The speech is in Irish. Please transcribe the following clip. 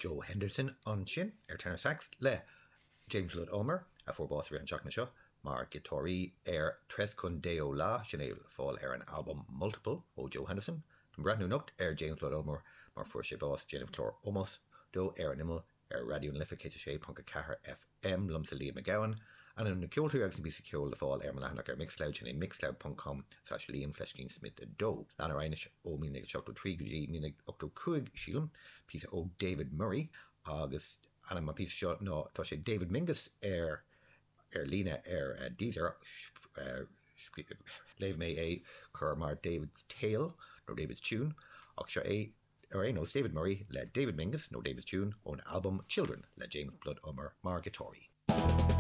Joe Henderson ansin ar tenor sax le James Blood Ulmer, a fuair bás i rith an tseachtaine seo, mar ghiotáraí ar Tres Con Deo La, sin é le fáil ar an albam Multiple ó Joe Henderson. Táim ag breathnú anocht ar James Blood Ulmer mar fuair sé bás, déanamh clár ómóis dó ar an Imeall ar Raidió na Life 106.4 FM, liomsa Liam Mac Gabhann. Ainm na gceoltóirí agus na píosaí ceoil le fáil ar mo leathanach ar Mixcloud, sin é mixcloud ponc com slash Liam fleiscín Smith 2. Lean ar aghaidh anois ó 1973 go dtí 1985, sílim, píosa ó David Murray agus ainm an phíosa seo ná, tá sé David Mingus ar ar líne ar Deezer, léigh mé é cur mar David's Tale nó David's Tune ach seo é Ar aon nós, David Murray le David Mingus nó David's Tune ón albam Children le James Blood Ulmer mar ghiotáraí.